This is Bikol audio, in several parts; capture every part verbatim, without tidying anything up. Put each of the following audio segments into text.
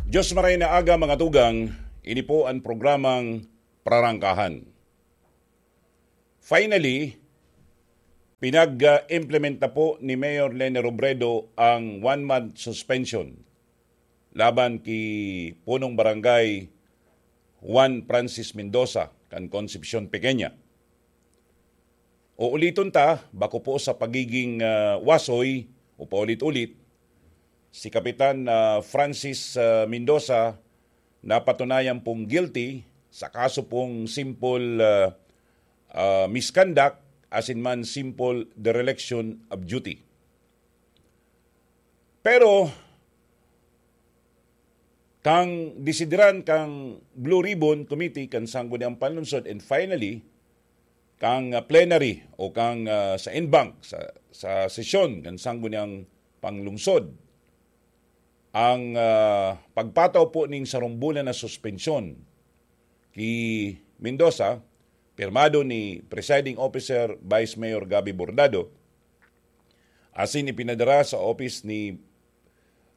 Diyos maray na aga, mga tugang, ini po ang programang Prarangkahan. Finally, pinag-implementa po ni Mayor Leni Robredo ang one-month suspension laban ki Punong Barangay Juan Francis Mendoza kan Concepcion Pequeña. Uuliton ta, bako po sa pagiging, ah, wasoy o paulit-ulit, si Kapitan, ah, Francis, ah, Mendoza napatunayan pong guilty sa kaso pong simple, ah, ah, misconduct asin man simple dereliction of duty. Pero, kan desideran kan Blue Ribbon Committee kan Sangguniang Panlungsod, and finally, kan, ah, plenary o kan, ah, sa en banc, sa, sa sesyon kan Sangguniang Panlungsod, ang, ah, pagpataw po nin sarong bulan na suspensyon ki Mendoza, pirmado ni Presiding Officer Vice Mayor Gabby Bordado, asin ipinadara sa office ni,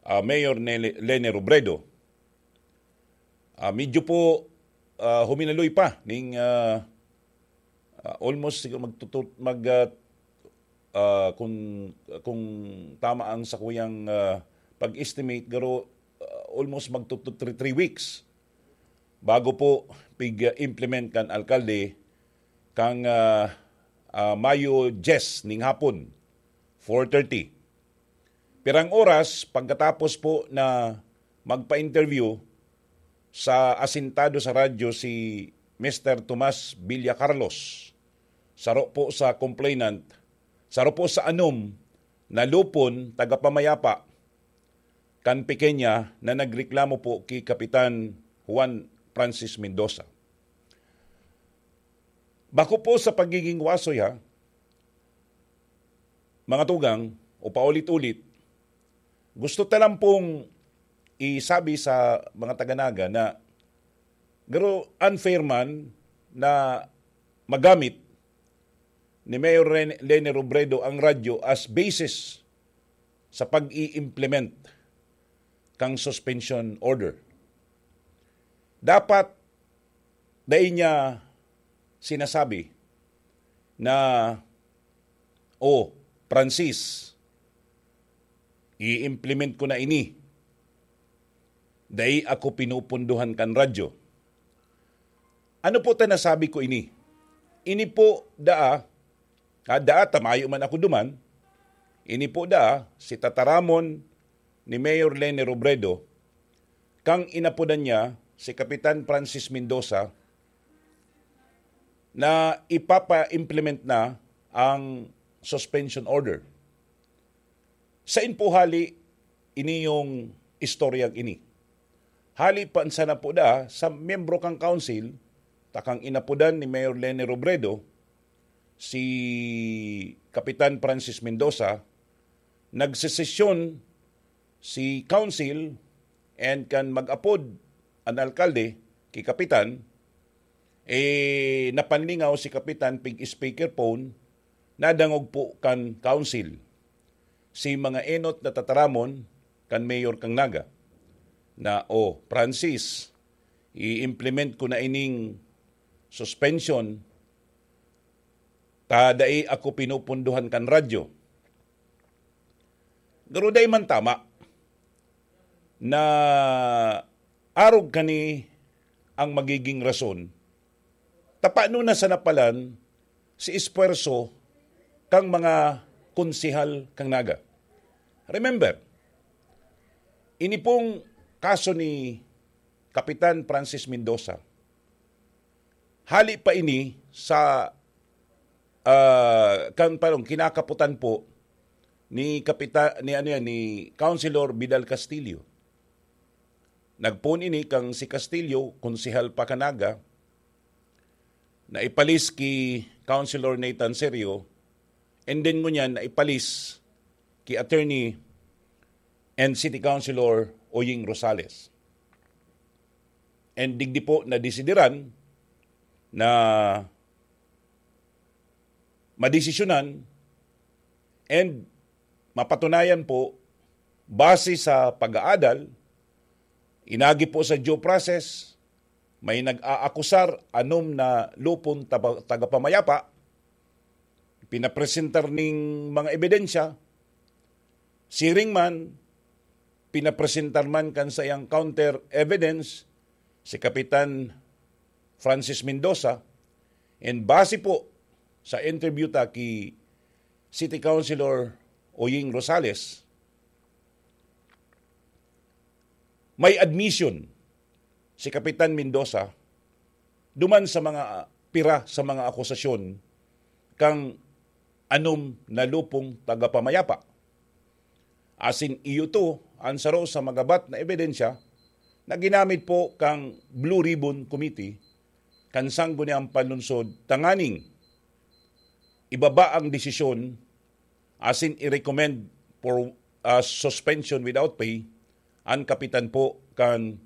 ah, Mayor Nele-, Leni Robredo. Ah, medyo po, ah, huminaloy pa ning, ah, ah, almost siguro magtutut-, mag, ah, ah, kung, kung tama ang sakuyang, ah, pag-estimate, garo, ah, almost magtutut three, three weeks bago po pig-implement kan alkalde kang, ah, ah, Mayo diyes ning hapon, four thirty. Pirang oras pagkatapos po na magpa-interview sa asintado sa radyo si Mister Tomas Villa Carlos, saro po sa complainant, saro po sa anom na lupon tagapamayapa kan Pequeña na nagreklamo po ki Kapitan Juan Francis Mendoza. Bako po sa pagiging wasoy, ha, mga tugang, o paulit-ulit, gusto ta lang pong isabi sa mga taga-Naga na garo unfair man na magamit ni Mayor Ren-, Leni Robredo ang radyo as basis sa pag-i-implement kang suspension order. Dapat dai niya sinasabi na, "Oh, Francis, i-implement ko na ini. Dai ako pinupunduhan kan radyo." Ano po ta nasabi ko ini? Ini po daa, ah, daa ta mayo man ako duman, ini po daa si tataramon ni Mayor Leni Robredo, kang inapodan niya si Kapitan Francis Mendoza na ipapa-implement na ang suspension order. Sain po hali ini yung istoryang ini? Hali pa sana po da sa miyembro kang council, takang inapodan ni Mayor Leni Robredo, si Kapitan Francis Mendoza, nagsesesyon si council and kan mag-apod an alkalde ki Kapitan, eh, napanlingaw si Kapitan pig speakerphone, nadangog po kan council si mga enot na tataramon kan mayor kang Naga na, "Oh, Francis, i-implement ko na ining suspension ta dai ako pinupunduhan kan radyo." Garo dai man tama na arog kani ang magiging rason ta paano na sana palan si espuwerso kang mga konsehal kang Naga. Remember, ini pong kaso ni Kapitan Francis Mendoza, hali pa ini sa, ah, kan parang kinakaputan po ni Kapita-, ni ano yan, ni Councilor Vidal Castillo. Nagpoon ini kang si Castillo, konsehal pa kan Naga, naipalis ki Councilor Nathan Serio, and then ngunyan naipalis ki Attorney and City Councilor Oying Rosales. And digdi po nadesideran na madesisyonan and mapatunayan po, base sa pag-aadal, Inagi po sa due process, may nag-aakusar, anom na lupon taba-, tagapamayapa, pinapresentar ning mga ebidensya, siring man, pinapresentar man kan saiyang counter evidence si Kapitan Francis Mendoza, and base po sa interview ta ki City Councilor Oying Rosales, may admission si Kapitan Mendoza duman sa mga pira sa mga akusasyon kang anom na lupong tagapamayapa. Asin iyo to an saro sa magabat na ebidensya na ginamit po kang Blue Ribbon Committee kan Sangguniang Panlungsod tanganing ibaba ang desisyon asin i-recommend for, ah, suspension without pay an kapitan po kan,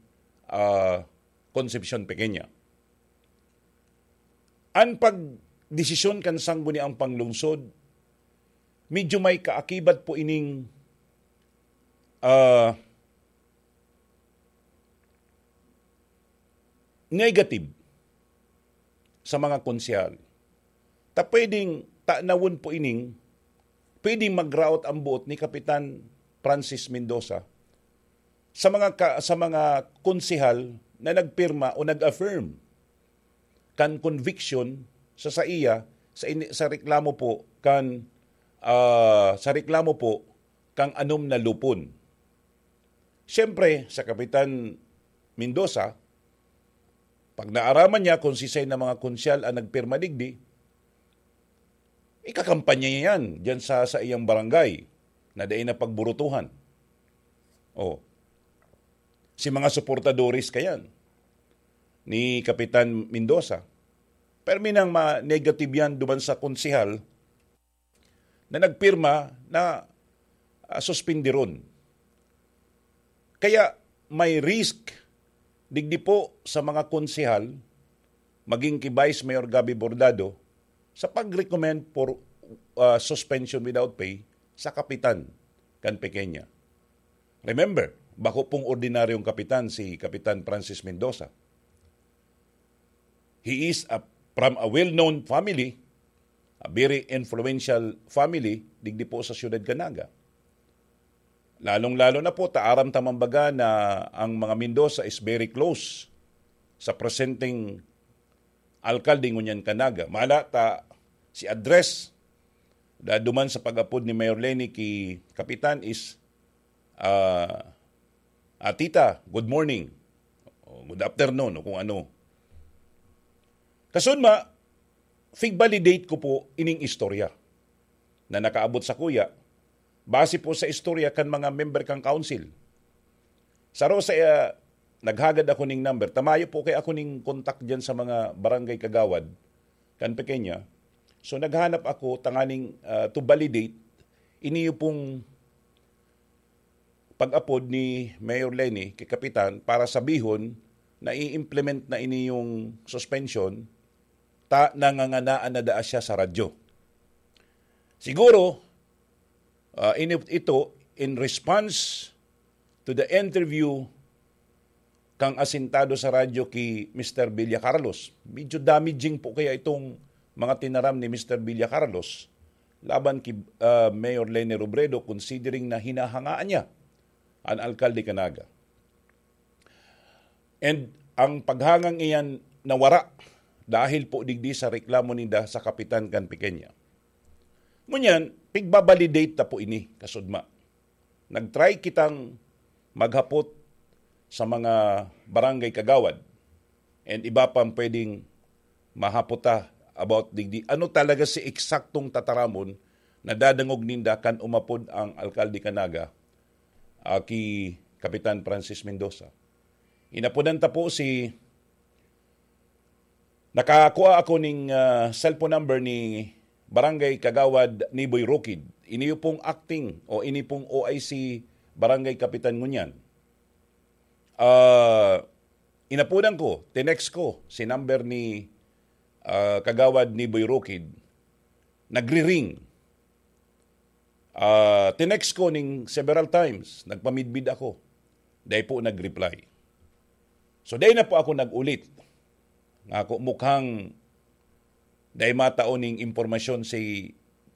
ah, Concepcion Pequeña. An pagdesisyon kan Sangguniang Panlungsod, medyo may kaakibat po ining, ah, negative sa mga konsehal. Ta pwedeng tanawon po ining, pwedeng magraot ang buot ni Kapitan Francis Mendoza sa mga ka-, sa mga konsehal na nagpirma o nag-affirm kan conviction sa saiya sa ini-, sa reklamo po kan, ah, sa reklamo po kang anom na lupon. Siyempre, sa Kapitan Mendoza, pag naaraman niya kung sisay na mga konsehal ang nagpirma digdi, ikakampanya niya yan diyan sa, sa iyang barangay na dai na pagburutuhan. Oh. Si mga suportadores kayan ni Kapitan Mendoza. Pero minang ma-negative yan duman sa konsehal na nagpirma na, ah, suspindiron. Kaya may risk digdi po sa mga konsehal, maging ki Vice Mayor Gabby Bordado, sa pag-recommend for, ah, suspension without pay sa kapitan kan Pequeña. Remember, bako pong ordinaryong kapitan si Kapitan Francis Mendoza. He is a, from a well-known family, a very influential family, digdi po sa siyudad kan Naga. Lalong-lalo na po, ta aram ta man baga na ang mga Mendoza is very close sa presenteng alkalde ngunyan kan Naga. Mala ta, si address, da-, duman sa pag-apod ni Mayor Leni ki Kapitan is, ah, "Ah, tita, good morning," o "Good afternoon," o kung ano. Kasunma, fig-validate ko po ining istorya na nakaabot sakuya, base po sa istorya kan mga member kan council. Saro sa, ah, naghagad ako ning number, ta mayo po kaya ako ning contact diyan sa mga barangay kagawad kan Pequeña. So, naghanap ako tanganing, ah, to validate iniyo pong pag-apod ni Mayor Leni kay Kapitan para sabihon na i-implement na ini yung suspension, ta nanganganaan na daa siya sa radyo. Siguro, ah, ini-, ito in response to the interview kang asintado sa radyo ki Mister Villa Carlos. Medyo damaging po kaya itong mga tinaram ni Mister Villa Carlos laban ki, ah, Mayor Leni Robredo, considering na hinahangaan niya an alkalde kan Naga. And ang paghangang iyan nawara dahil po digdi sa reklamo ninda sa kapitan kan Pequeña. Ngunyan, pigbabalidate ta po ini, kasudma. Nag-try kitang maghapot sa mga barangay kagawad and iba pang pwedeng mahapot ta about digdi. Ano talaga si eksaktong tataramon na dadangog ninda kan umapod ang alkalde kan Naga, ah, ki Kapitan Francis Mendoza? Inapodan ta po si, nakakua ako ning, ah, cellphone number ni Barangay Kagawad Niboy Rokid. Ini pong acting o ini pong O I C Barangay Kapitan ngunyan. Ah, inapodan ko, tinext ko si number ni, ah, Kagawad Niboy Rokid. Nagri-ring. Ah, tinext ko ning several times, nagpamidbid ako. Dai po nag-reply. So, dai na po ako nag-ulit. Nga ako mukhang dai matao ning impormasyon si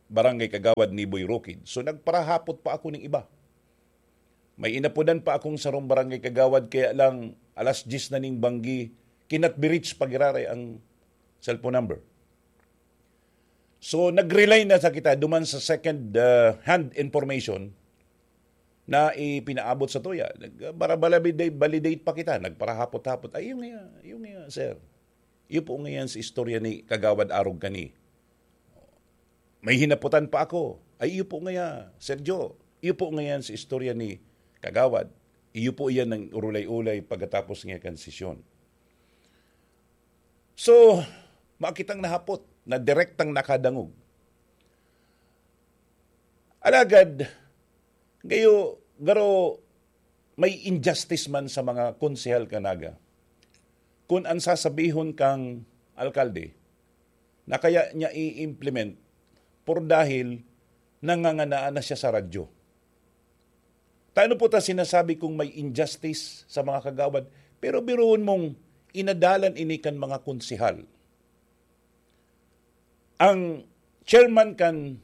Barangay Kagawad Niboy Rukid. So, nagparahapot pa ako ning iba. May inapodan pa akong sarong barangay kagawad, kaya lang alas diyes na ning banggi, cannot be reached pa giraray ang cellphone number. So, nag-rely na sa kita duman sa second, ah, hand information na ipinaabot sa tuya. Nag-, para validate, validate pa kita, nagparahapot-hapot. "Ay, iyo nga, iyo nga, sir. Iyo po nga yan sa istorya ni Kagawad Arog kani. May hinapotan pa ako. Ay, iyo po nga yan, Sir Joe. Iyo po nga yan sa istorya ni Kagawad. Iyo po yan ang urulay-ulay pagkatapos niya kan sesyon." So, makitang nahapot na direktang nakadangog. Alagad, gayo, garo, may injustice man sa mga konsehal kan Naga. Kun an sasabihon kang alkalde na kaya niya i-implement por dahil nanganganaan na siya sa radyo. Tano po ta sinasabi kung may injustice sa mga kagawad, pero biruon mong inadalan ini kan mga konsehal. Ang chairman kan,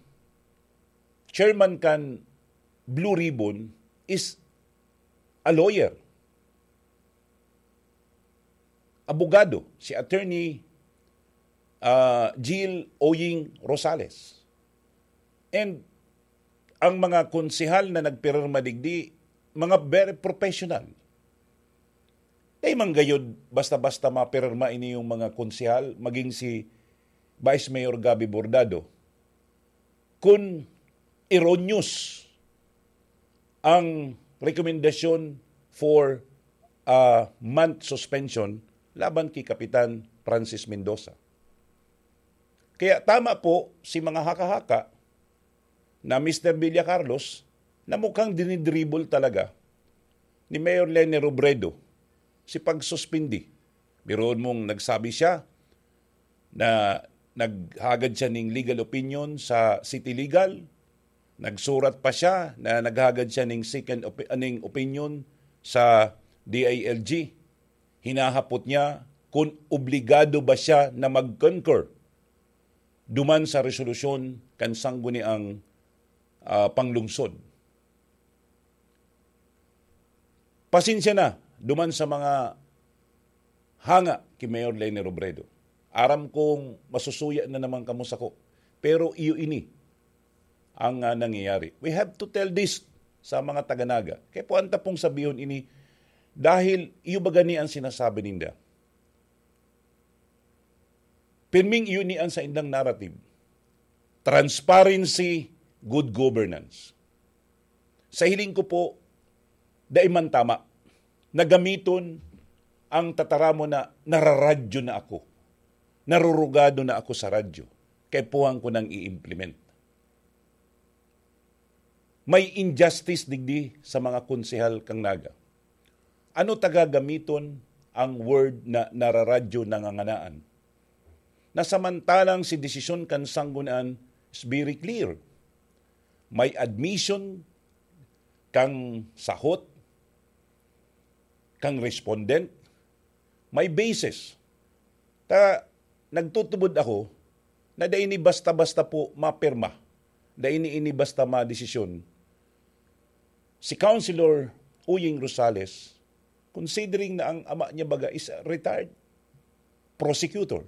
chairman kan Blue Ribbon is a lawyer, abogado, si Attorney, ah, Jill Oying Rosales. And ang mga konsehal na nagpirma digdi, mga very professional. Dai man gayod basta-basta mapirma ini yung mga konsehal, maging si Vice Mayor Gabby Bordado, kun erroneous ang rekomendasyon for a month suspension laban ki Kapitan Francis Mendoza. Kaya tama po si mga haka-haka na Mister Villa Carlos na mukhang dinidribble talaga ni Mayor Leni Robredo si pagsuspindi. Biruon mong nagsabi siya na naghagad siya ning legal opinion sa City Legal, nagsurat pa siya na naghagad siya ning second opi-, ning opinion sa D I L G. Hinahapot niya kung obligado ba siya na mag-concur duman sa resolusyon kan sangguniang, ah, panglungsod. Pasensya na duman sa mga hanga ki Mayor Leni Robredo. Aram kong masusuya na naman kamo sako, pero iyo ini ang, ah, nangyayari. We have to tell this sa mga taga-Naga. Kaya po, anta pong sabihon ini, dahil iyo ba gani ang sinasabi ninda? Pirming iyo ni ang saindang narrative. Transparency, good governance. Sa hiling ko po, dai man tama na gamiton ang tataramon na nararadyo na ako, narurugado na ako sa radyo, kaipuhan ko nang i-implement. May injustice digdi sa mga konsehal kang Naga. Ano ta gagamiton ang word na nararadyo nanganganaan? Na samantalang si desisyon kan sanggunian is very clear. May admission kang sahot, kang respondent, may basis. Ta, nagtutubod ako na dai ni basta-basta po mapirma, dai ni ini basta madesisyon. Si Councilor Uying Rosales, considering na ang ama niya baga is a retired prosecutor,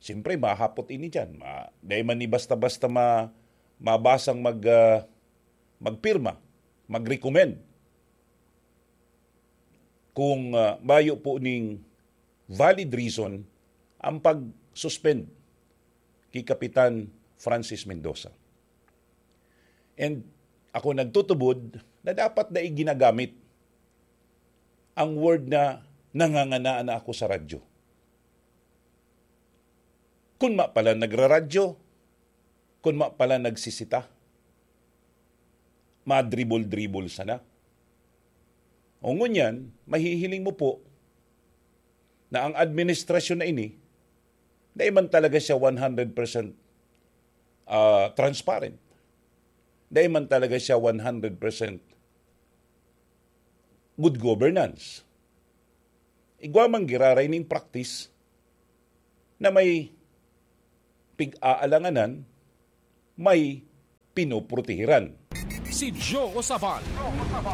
siyempre, mahapot ini diyan. Ma-, dai man ni basta-basta ma-, mabasang mag, ah, magpirma, mag-recommend kung, ah, mayo po ning valid reason ang pag-suspend ki Kapitan Francis Mendoza. And ako nagtutubod na dapat dai ginagamit ang word na nanganganaan na ako sa radyo. Kun ma pala nagraradyo, kun ma pala nagsisita, madribol-dribol sana. O ngunyan, mahihiling mo po na ang administrasyon na ini, dai man talaga siya one hundred percent, ah, transparent. Dai man talaga siya one hundred percent good governance. Igwa man giraray ning practice na may pig-aalanganan, may pinoprotehiran. Si Joe Sabal,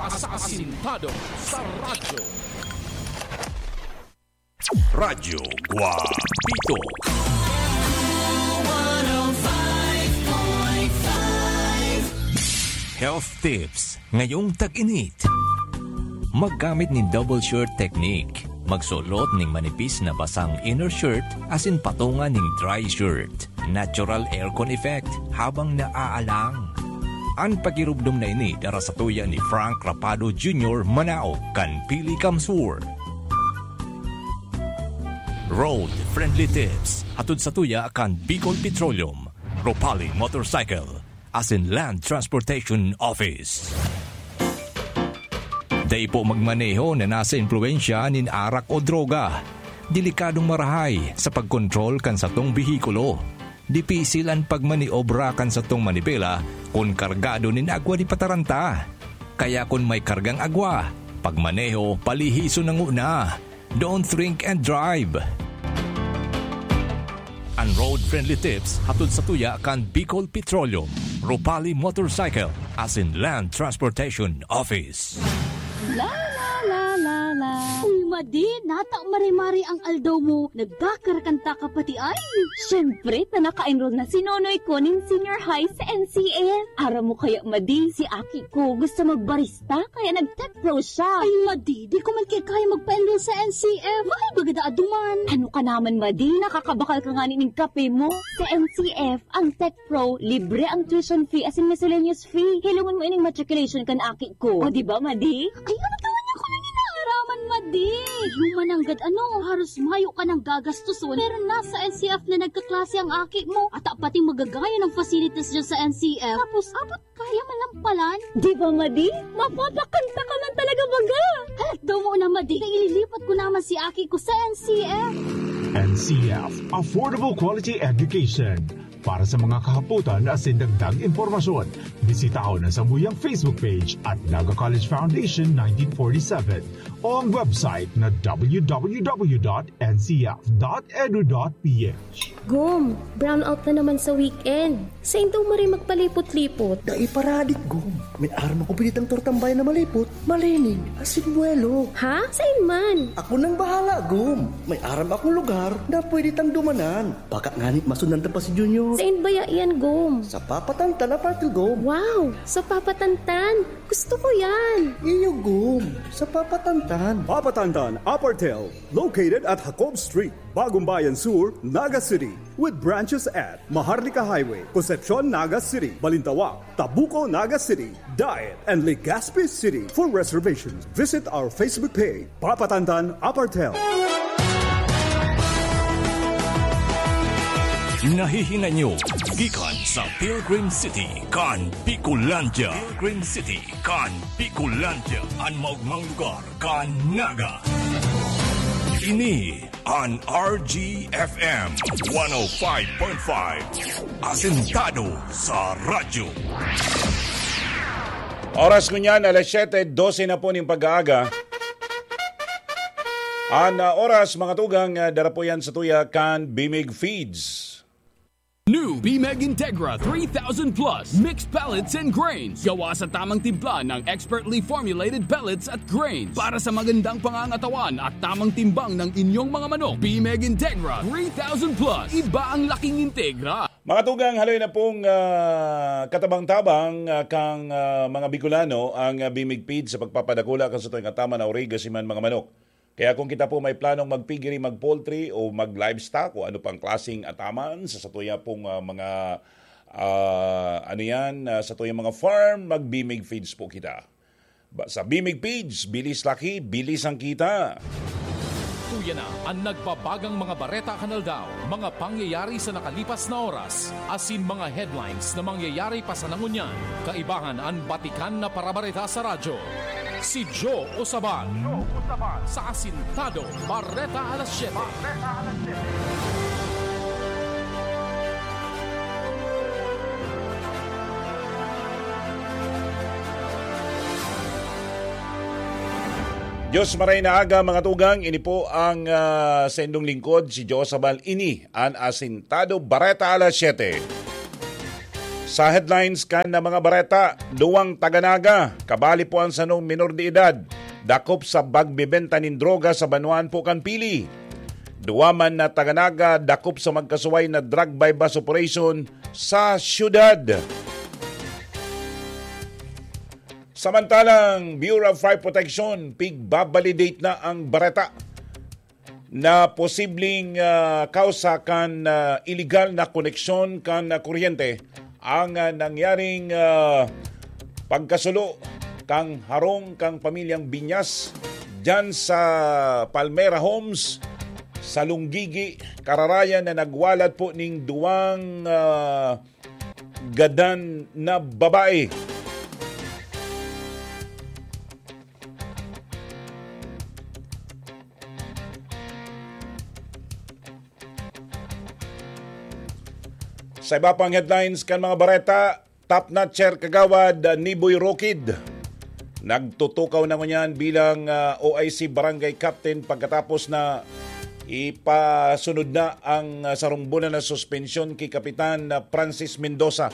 asasintado sa radyo. Radyo Guapito. Health tips ngayong tag-init. Maggamit nin double shirt technique. Magsulot ning manipis na basang inner shirt asin patunga ning dry shirt. Natural aircon effect habang naaalang. An pagirubdom na ini dara sa tuya ni Frank Rapado Junior, manaog kan Pili Kamsur. Road Friendly Tips, hatod sa tuya kan Bicol Petroleum, Ropali Motorcycle, asin Land Transportation Office. Dai po magmaneho na nasa impluwensya nin arak o droga. Delikadong marahay sa pagkontrol kan satong behikulo. Dipisil an pagmaniobra kan satong manibela kun kargado nin agwa di pataranta. Kaya kun may kargang agwa, pagmaneho palihison na nguna. Don't drink and drive. An road-friendly tips hatod sa tuya kan Bicol Petroleum, Ropali Motorcycle, asin Land Transportation Office. La, la, la, la, la. Uy, Madi, nata mare-mare ang aldaw mo. Nagkakarakanta ka pati ay. Siyempre, ta naka-enroll na si Nonoy ko nin senior high sa N C F. Aram mo kaya, Madi, si aki ko gusto magbarista, kaya nag-tech pro siya. Ay, Madi, di ko man kaya magpa-enroll sa N C F. Mahal baga daa duman. Ano ka naman, Madi? Nakakabakal ka ngani ning kape mo. Sa N C F, ang tech pro, libre ang tuition fee asin miscellaneous fee. Hilongon mo ining matriculation kan aki ko. O, di ba, Madi? Ay, ano ka man ako nang inaaraman, Madi? Human nanggad ano, haros mayo ka nang gagastuson, pero nasa N C F na nagkaklase ang aki mo. At pati magagaya ng facilities dyan sa N C F. Tapos, abot kaya man lang palan. Di ba, Madi? Mapapakanta ka man talaga baga. Halat daw mo na, Madi. Kaya ililipat ko naman si aki ko sa N C F. N C F, Affordable Quality Education. Para sa mga kahapotan asin dagdag impormasyon, bisitahon ang samuyang Facebook page at Naga College Foundation nineteen forty-seven o ang website na w w w dot n c f dot edu dot p h. Gom, brownout na naman sa weekend. Sain daw maray magpalipot-lipot? Dai paradik, Gom. May aram ako pwede tang tortang bayan na malipot, malinig, asin buwelo. Ha? Sain man? Ako nang bahala, Gom. May aram akong lugar na pwede tang dumanan. Baka ngani masundan ta pa si Junior. Sain baya iyan, Gom? Sa Papatantan, Apartel, Gom. Wow! Sa Papatantan? Gusto ko yan! Iyo, Gom. Sa Papatantan. Papatantan, Apartel. Located at Jacob Street, Bagong Bayan Sur, Naga City. With branches at Maharlika Highway, Concepcion, Naga City, Balintawak, Tabuco, Naga City, Daet, and Legazpi City. For reservations, visit our Facebook page, Papatantan Apartel. Nahihinay nyo gikan sa Pilgrim City kan Bicolandia. Pilgrim City kan Bicolandia, an maogmang lugar kan Naga. Ini an R G F M one oh five point five. Asentado sa radyo. Oras ngunyan, alas siyete dose na po ning pag-aaga. An, ah, oras, mga tugang, ah, dara po yan sa tuya kan Bimig Feeds. New Bimeg Integra three thousand Plus Mixed Pellets and Grains. Gawa sa tamang timpla ng expertly formulated pellets at grains para sa magandang pangangatawan at tamang timbang ng inyong mga manok. Bimeg Integra three thousand Plus. Iba ang laking Integra. Mga tugang, haloy na pong, ah, katabang-tabang, ah, kang, ah, mga Bicolano ang, ah, Bimig Feeds sa pagpapadakula kan satuyang ataman na origa siman mga manok. Kaya kung kita po may planong magpigiri, mag-poultry o mag-livestock o ano pang klaseng ataman sa satuya pong, ah, mga, ah, ano yan, ah, satuyang mga farm, mag-Bimig Feeds po kita. Ba, sa Bimig Feeds, bilis laki, bilis ang kita. Tuya na an nagbabagang mga bareta kan aldaw, mga pangyayari sa nakalipas na oras, asin mga headlines na mangyayari pa sana ngunyan. Kaibahan an batikan na parabareta sa radyo. Si Joe Osaban. Sa Asintado, Bareta Alas Siyete. Diyos maray na aga, mga tugang. Ini po ang, ah, saindong lingkod, si Josabal. Ini an Asintado Bareta alas siyete. Sa headlines kan na mga bareta, duwang taga Naga, kabali po ang sanong minor de edad, dakop sa pagbebenta nin droga sa banwaan po kan Pili. Duwa man na taga Naga, dakop sa magkasuway na drug buy-bust operation sa syudad. Samantalang, Bureau of Fire Protection, pigbabalidate na ang bareta na posibleng, ah, kausa kan, ah, iligal na koneksyon kan, ah, kuryente ang, ah, nangyaring, ah, pagkasulo kan harong kan pamilyang Binyas diyan sa Palmera Homes sa Lunggigi, Cararayan, na nagwalat po ning duwang, ah, gadan na babae. Sa iba pang headlines kan mga bareta, top notcher kagawad, ah, Niboy Rokid, nagtutukaw na ngunyan bilang, ah, O I C Barangay Captain pagkatapos na ipasunod na ang, ah, sarong bulan na suspensyon ki Kapitan, ah, Francis Mendoza.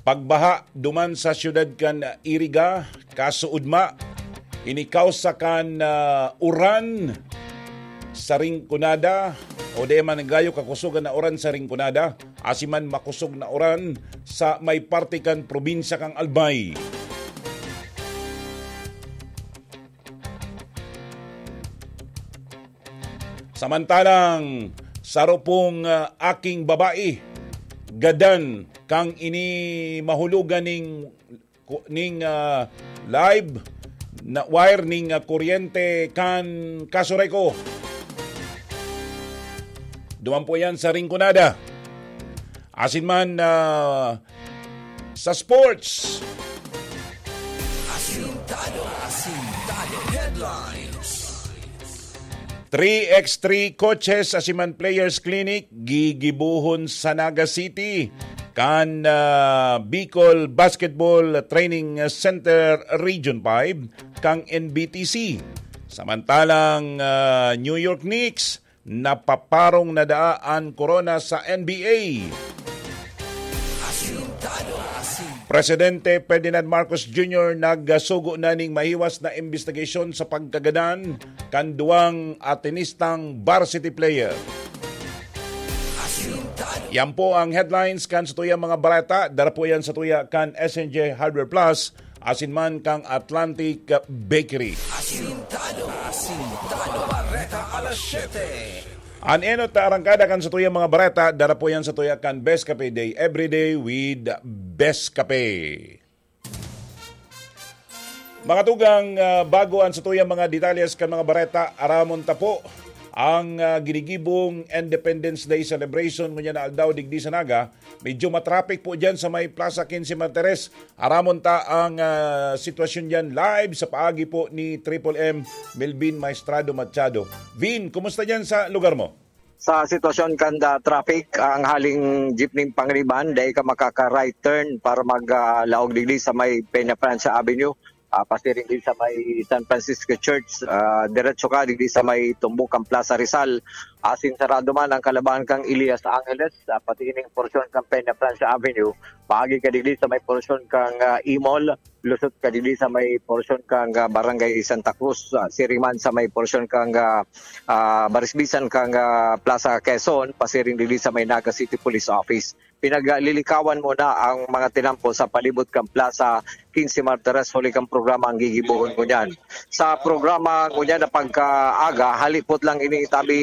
Pagbaha duman sa siyudad kan Iriga, kasuodma, ini kausa kan, ah, uran sa Rinconada, o di man gayo kakusogan na uran sa Rinconada, asin man makosog na uran sa may parte kan probinsya kan Albay. Samantalang, saro pong, ah, aking babae, gadan kan ini mahulogan ning, ning, ah, live na wire ning, ah, kuryente kan Casureco. Duman po yan sa Rinconada. Asin man, ah, sa sports. Asintado, asintado headlines. Three x three coaches, asin man players clinic, gigibohon sa Naga City kan, ah, Bicol Basketball Training Center Region five kan N B T C. Samantalang, ah, New York Knicks, napaparong na daa an korona sa N B A. Presidente Ferdinand Marcos Junior nagsugo na ning mahiwas na imbestigasyon sa pagkagadan kan duwang Atenistang varsity player. Yan po ang headlines kan satuyang mga bareta. Dara po yan satuya kan S N J Hardware Plus asin man kan Atlantic Bakery. Asintado. Asintado. Bareta alas siyete. An enot na arangkada kan satuyang mga bareta, dara po yan satuya kan Best Cafe Day, Everyday with Best Cafe. Mga tugang, ah, bago an satuyang mga detalles kan mga bareta, aramon ta po ang, ah, ginigibong Independence Day celebration ngunyan na aldaw digdi sa Naga. Medyo matraffic po dyan sa may Plaza Quince Martires. Aramon ta ang, ah, sitwasyon dyan live sa paagi po ni Triple M, Melvin Maestrado Machado. Vin, kumusta dyan sa lugar mo? Sa sitwasyon kan, ah, traffic, ang haling jeepney Panganiban, dai ka makaka-right turn para mag, ah, laog digdi sa may Peña Francia Avenue, ah, pasiring din sa may San Francisco Church, ah, diretso ka digdi sa may tumbok kan Plaza Rizal. Asin sarado man ang kalabahan kan Elias Angeles, ah, pati ining porsyon kan Peña Francia Avenue, paagi ka digdi sa may porsyon kan, ah, E-Mall, lusot ka digdi sa may porsyon kan, ah, Barangay Santa Cruz, ah, siring man sa may porsyon kan, ah, ah, barisbisan kan, ah, Plaza Quezon, pasiring digdi sa may Naga City Police Office. Pinaglilikawan muna ang mga tinampo sa palibot kan Plaza Quince Martires huli kan programa ang gigibohon ngunyan. Sa programa ngunyan na pagkaaga, halipot lang ini tabi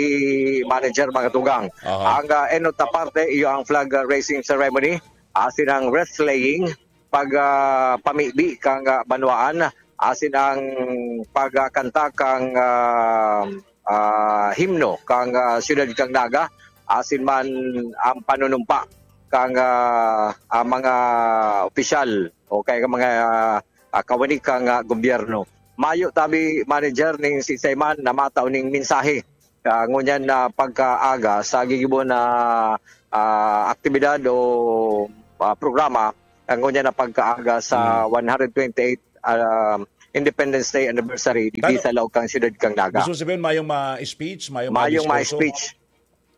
manager, mga tugang. Aha. Ang, ah, enot na parte, iyo ang flag raising ceremony, asin ang wrestling, pag, ah, pamibi kan, ah, banwaan, asin ang pagkanta kan, ah, ah, himno kan, ah, siyudad kan Naga, asin man ang panunumpa kan, ah, ah, mga opisyal o kaya mga, ah, kawani kan, ah, gobyerno. Mayo tabi manager ning si Sayman na matao ning mensahe ah, ngunyan na pagkaaga sa gigibo na, ah, aktibidad o, ah, programa, ah, ngunyan na pagkaaga sa Mm. one hundred twenty-eight, ah, Independence Day anniversary digdi Tano? sa laog kan siyudad kan Naga. Gusto sabihin, mayong ma-speech, mayong Mayong ma-diskurso? ma-speech.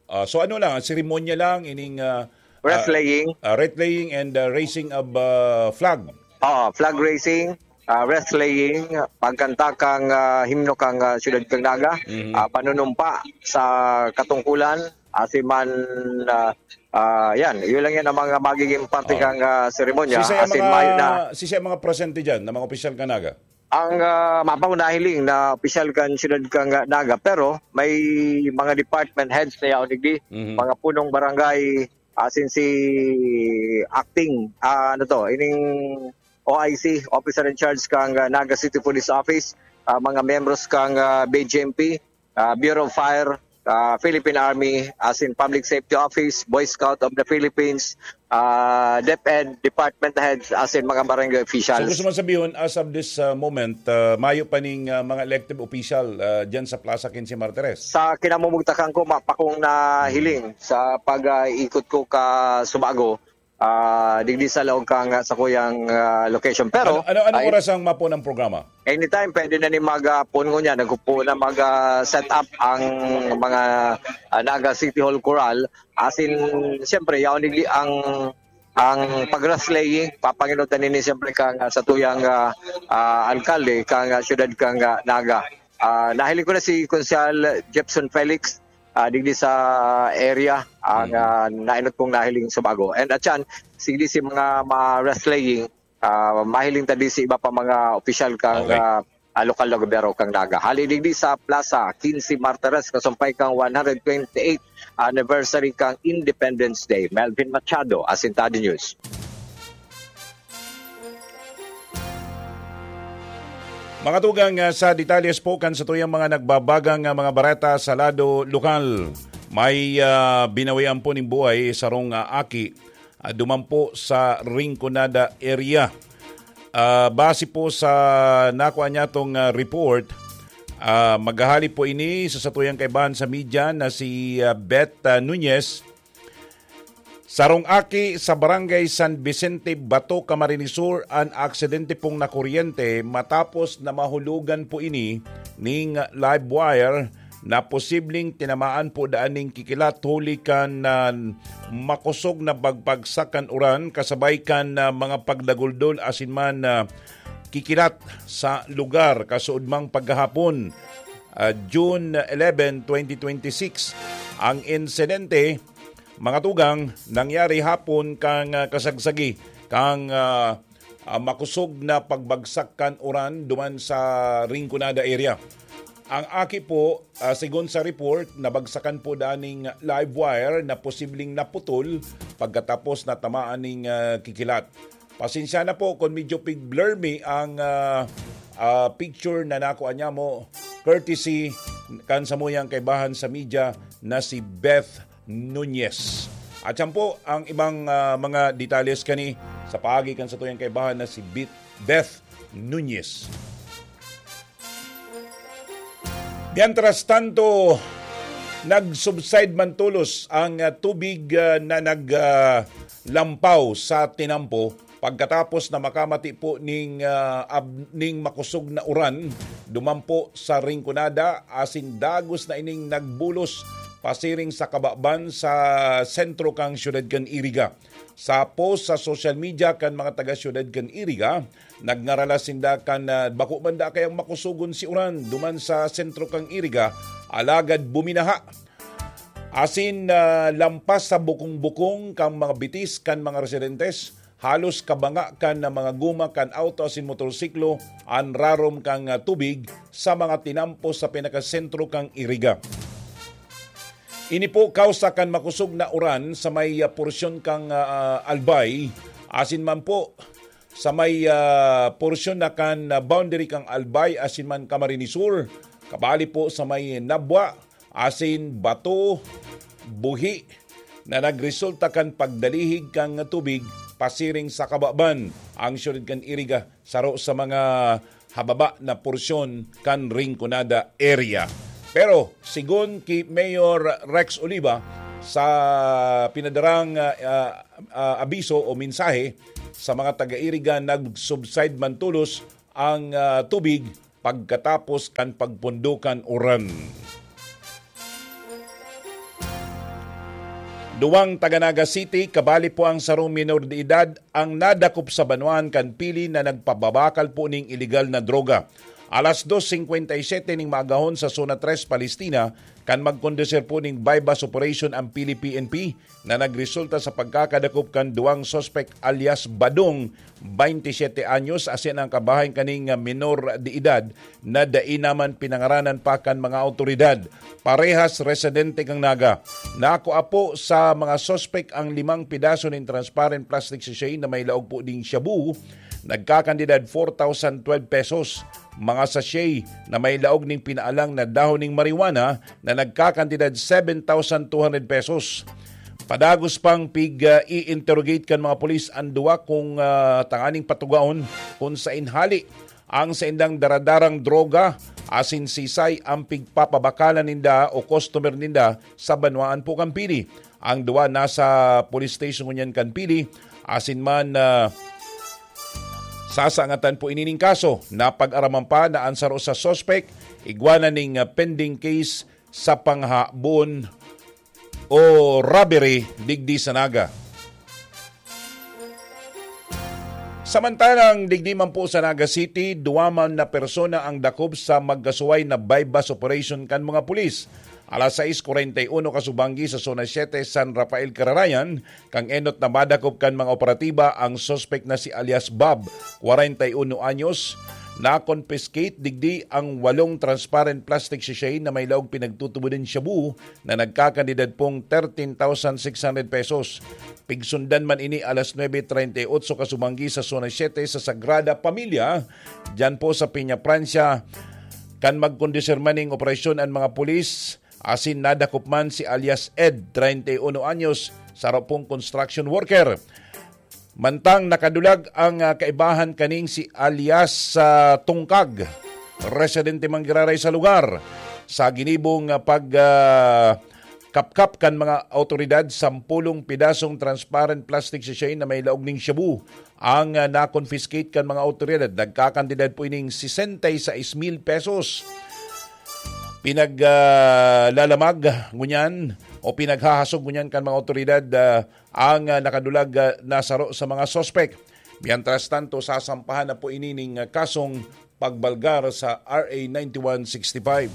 Ah, so ano lang, seremonya lang, ining, ah, Wrestling. ah, ah, wrestling and, ah, raising of, ah, flag. Oo, flag raising, ah, wrestling, pagkanta kang, ah, himno kang, ah, siyudad kang Naga, Mhm. ah, panunumpa sa katungkulan, asin man, ah, ah, yan, yun lang yan ang mga magiging parte Ah. kang, ah, seremonya. Sisay ang Asin mga, mayo na. sisay ang mga presente dyan, na mga opisyal ka Naga? Ang, ah, mapang nahiling na opisyal kan siyudad kan Naga, pero may mga department heads na yaon digdi, Mhm. mga punong barangay, asin si acting, ah, ano to, ining O I C, Officer in Charge kan, ah, Naga City Police Office, ah, mga membros kan, ah, B J M P, ah, Bureau of Fire, ah, Philippine Army, asin Public Safety Office, Boy Scout of the Philippines, ah, DepEd, department heads, asin mga barangay So, officials. gusto mo sabihin, as of this, ah, moment, ah, mayo pa ning, ah, mga elected official, ah, dyan sa Plaza Quince Martires? Sa kinamumugtakan ko, mapakong nahiling Hmm. sa pag, ah, ikot ko ka Subago, ah, digdi sa laog kang, ah, sakuyang, ah, location. Pero, Ano, ano, anong ay oras ang mapo ng programa? Anytime, pwede na ni mag, ah, puno niya. Nagpo na mag, ah, set up ang mga, ah, Naga City Hall Chorale. Asin, siyempre, yaon digdi ang, ang pag-wrestling, papanginotan nini siyempre kang, ah, sa tuyang, ah, ah, alkalde, kang, ah, siyudad kang, ah, Naga. Ah, nahiling ko na si Konsehal Jepson Felix, ah, digdi sa area, ang, Mm. ah, nainot kong nahiling sa bago. And at yan, sigdi si mga ma-wrestling, ah, mahiling ta di si iba pa mga opisyal kang, Okay. ah, ah, lokal na gobyerno kang Naga. Hali digdi sa Plaza Quince Martires, kasumpay kang one hundred twenty-eight anniversary kang Independence Day. Melvin Machado, Asintado News. Mga tugang, ah, sa detalles po kan sa tuyang mga nagbabagang, ah, mga bareta sa lado lokal. May, ah, binawian po ning buhay sarong, ah, aki, ah, duman po sa Rinconada area. Ah, base po sa nakuha niya tong, ah, report, ah, maghahali po ini sa satuyang kaibahan sa media na si, ah, Beth, ah, Nunez. Sarong aki sa Barangay San Vicente, Bato, Camarines Sur, an aksidente pong nakuryente matapos na mahulugan po ini ning live wire na posibleng tinamaan po daan ning kikilat huli kan, ah, makosog na bagbagsak kan uran kasabay kan, ah, mga pagdaguldol asin man, ah, kikilat sa lugar kasuodmang paghahapon, ah, June eleven, twenty twenty-six. Ang insidente, mga tugang, nangyari hapon kan, ah, kasagsagi kan, ah, ah, makosog na pagbagsak kan uran duman sa Rinconada area. Ang aki po, ah, segun sa report, nabagsakan po daning live wire na posibleng naputol pagkatapos natamaan ning, ah, kikilat. Pasensya na po kung medyo pig-blur mi ang, ah, ah, picture na nakuha niya mo, courtesy kan samuyang kaibahan sa media na si Beth Nunez. At yan po ang ibang, ah, mga detalles kani sa paagi kan satuyang kaibahan na si Beth, Beth Nunez. Mientras tanto, nag-subside man tolos ang, ah, tubig, ah, na nag, ah, lampaw sa tinampo pagkatapos na makamati po ning, ah, ab-, ning makosog na uran duman po sa Rinconada, asin dagos na ining nagbulos pasiring sa kababan sa sentro kan siyudad kan Iriga. Sa post sa social media kan mga taga-siyudad kan Iriga, nagngaralas sinda kan, ah, bako man da kayang makusogon si uran duman sa sentro kan Iriga, alagad buminaha. Asin, ah, lampas sa bukong-bukong kan mga bitis kan mga residentes, halos kabanga kan mga guma kan auto asin motorsiklo an rarom kan, ah, tubig sa mga tinampo sa pinakasentro kan Iriga. Ini po kausa kan makosog na uran sa may, ah, porsyon kan, ah, Albay, asin man po sa may, ah, porsyon na kan, ah, boundary kan Albay asin man Camarines Sur, kabali po sa may Nabua asin Bato, Buhi, na nagresulta kan pagdalihig kan tubig pasiring sa kababan ang siyudad kan Iriga, saro sa mga hababa na porsyon kan Rinconada area. Pero sigon ki Mayor Rex Oliva, sa pinadarang, ah, ah, ah, abiso o mensahe sa mga taga-Iriga, nag-subside man tolos ang, ah, tubig pagkatapos kan pagpundo kan uran. Duwang taga Naga City, kabali po ang sarong minor de edad, ang nadakop sa banwaan kan Pili na nagpababakal po ning iligal na droga. Alas dos singkwenta y siyete ning maagahon sa Zona tres, Palestina, kan magkondusir po ning buy-bust operation ang Pili P N P, na nagresulta sa pagkakadakop kan duwang suspek alias Badong, baynte siyete anyos, asin ang kabahay kaning minor de edad na dai naman pinangaranan pa kan mga awtoridad. Parehas residente kan Naga. Nakua po sa mga suspek ang limang pidaso nin transparent plastic sachet na may laog po ding shabu, nagkakantidad four thousand twelve pesos, mga sachet na may laog ning pinaalang na dahon ning marijuana na nagkakantidad seven thousand two hundred pesos. Padagos pang pig, ah, i-interrogate kan mga pulis an duwa kung, ah, tanganing patugaon kung saen hali ang saindang daradarang droga asin sisay ang pigpapabakalan ninda o customer ninda sa banwaan po kan Pili. Ang duwa nasa police station ngunyan kan Pili, asin man, ah, sasangatan po ini ning kaso. Napag-araman pa na ang saro sa suspek igwa na ning, ah, pending case sa panghabon o robbery digdi sa Naga. Samantalang digdi man po sa Naga City, duwa man na persona ang dakop sa magkasuway na buy-bust operation kan mga pulis. Alas sais kwarenta y uno kasubanggi sa Zona siete, San Rafael, Cararayan, kan enot na madakop kan mga operatiba ang suspek na si alias Bob, kwarenta y uno anyos. Na-confiscate digdi ang walong transparent plastic sachet na may laog pinagtutubodan shabu na nagkakantidad pong thirteen thousand six hundred pesos. Pigsundan man ini alas nuebe treinta y ocho kasubanggi sa Zona siete sa Sagrada Familia, diyan po sa Peña Francia. Kan magkondusir man ning operasyon an mga pulis, asin nadakop man si alias Ed, treinta y uno anyos, saro pong construction worker. Mantang nakadulag ang, ah, kaibahan kaning si alias, ah, Tungkag, residente man giraray sa lugar. Sa ginibong, ah, pag, ah, kapkap kan mga awtoridad, sampulong pidasong transparent plastic sachet na may laog ning shabu ang, ah, na-confiscate kan mga awtoridad. Nagkakantidad po ining sesenta y seis mil pesos. Pinag, ah, lalamag ngunyan o pinaghahasog ngunyan kan mga awtoridad, ah, ang, ah, nakadulag, ah, na saro sa mga suspek. Mientras tanto, sasampahan na po ini ning, ah, kasong pagbalgar sa R A ninety-one sixty-five.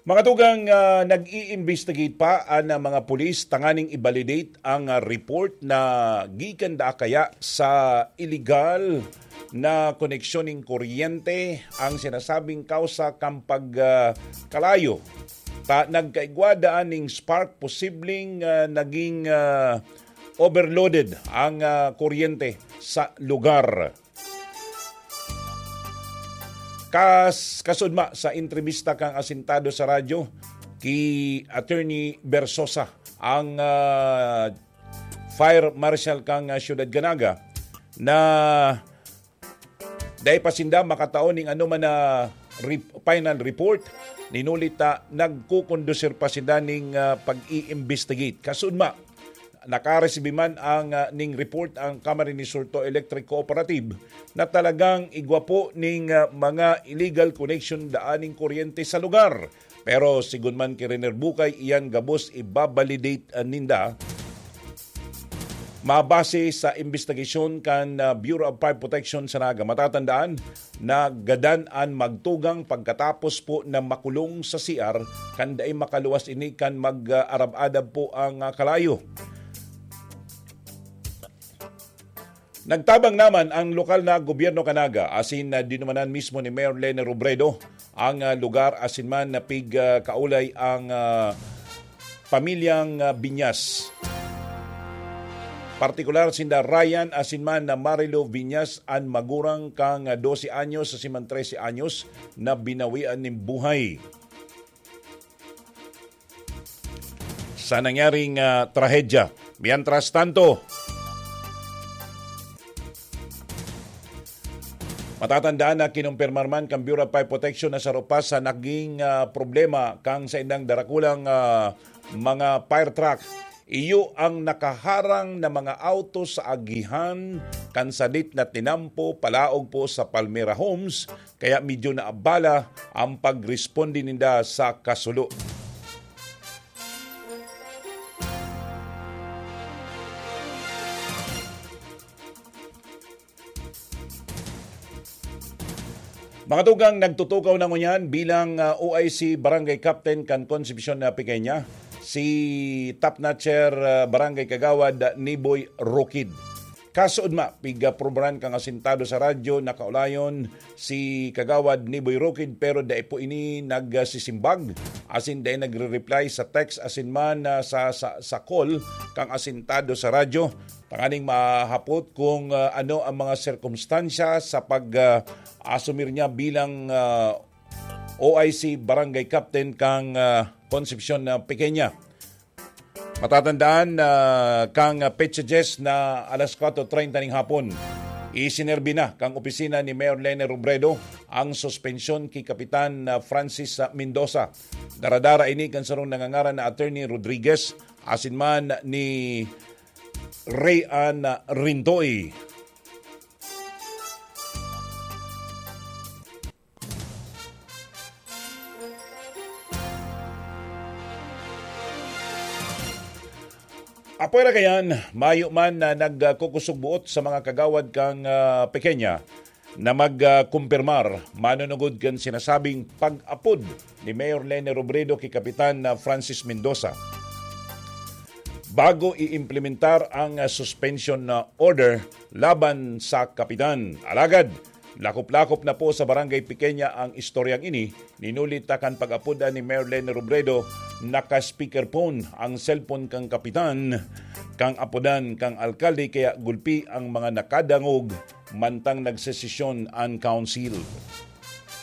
Mga tugang, ah, nag-i-investigate pa an, ah, mga pulis tanganing i-validate ang, ah, report na gikan daa kaya sa iligal na koneksyon ning kuryente ang sinasabing kausa kan pag, ah, kalayo. Ta-, nagkaigwa daan ning spark, posibleng, ah, naging, ah, overloaded ang, ah, kuryente sa lugar. Kas-, kasudma sa entrebista kang asintado sa radyo ki Attorney Bersosa, ang, ah, Fire Marshal kang, ah, Siyudad Canaga, na dai pa sinda makatao ning anoman na rep-, final report, ninuli ta nagkukondusir pa sinda ning, ah, pag-i-investigate. Kasudma, nakaresibi man ang, ah, ning report ang Camarines Sur Electric Cooperative na talagang igwa po ning, ah, mga illegal connection daan ning kuryente sa lugar. Pero sigon man ki Riner Bukay, iyan gabos ibabalidate, ah, ninda. Mabase sa imbestigasyon kan, ah, Bureau of Fire Protection sa Naga, matatandaan na gadan an magtugang pagkatapos po na makulong sa C R kan dai makaluwas ini kan mag-arab-adab po ang, ah, kalayo. Nagtabang naman ang lokal na gobyerno kan Naga, asin, ah, dinumanan mismo ni Mayor Leni Robredo ang, ah, lugar, asin man na pig, ah, kaulay ang, ah, pamilyang, ah, Viñas. Partikular sinda Ryan asin man na Marilo Viñas, an magurang kang, ah, dose anyos asin man trese anyos na binawian nin buhay sa nangyaring, ah, trahedya. Mientras tanto, Matatandaan na kinumpirmar man kan Bureau of Fire Protection na saro pa sa naging, ah, problema kan saindang darakulang, ah, mga fire truck. Iyo ang nakaharang na mga auto sa agihan kan sadit na tinampo palaog po sa Palmera Homes, kaya medyo naabala ang pagresponde ninda sa kasulo. Mga tugang, nagtutukaw na ngunyan bilang, ah, O I C Barangay Captain kan Concepcion na Pequeña, si Top Notcher, ah, Barangay Kagawad, ah, Niboy Rokid. Kasood ma, pigaprobaran kang asintado sa radyo, nakaulayon si Kagawad Niboy Rokid, pero dai po ini nagsisimbag, asin dai nagre-reply sa text, asin man, ah, sa, sa, sa call kang asintado sa radyo. Tanganing mahapot kung, ah, ano ang mga sirkumstansya sa pag, ah, asumir niya bilang, ah, O I C Barangay Captain kang, ah, Concepcion na Pequeña. Matatandaan na kang, ah, petsa dyes na alas kwatro treinta ning hapon, isinerbi na kang opisina ni Mayor Lene Robredo ang suspensyon ki Kapitan, ah, Francis, ah, Mendoza. Daradara ini kan sarong nangangaran na Attorney Rodriguez, asin man ni Ray Ann Rintoy. Apwera kayan, mayo man na nagkukusog buot sa mga kagawad kang, ah, Pequeña na magkumpirmar manunugod kan sinasabing pag-apod ni Mayor Lene Robredo ki Kapitan, ah, Francis Mendoza bago i-implementar ang, ah, suspension na order laban sa kapitan. Alagad, lakop-lakop na po sa Barangay Pequeña ang istoryang ini. Ninuli ta kan pag-apodan ni Mayor Lene Robredo, naka-speakerphone ang cellphone kan kapitan kan apodan kan alkalde, kaya gulpi ang mga nakadangog mantang nagsesesyon an council.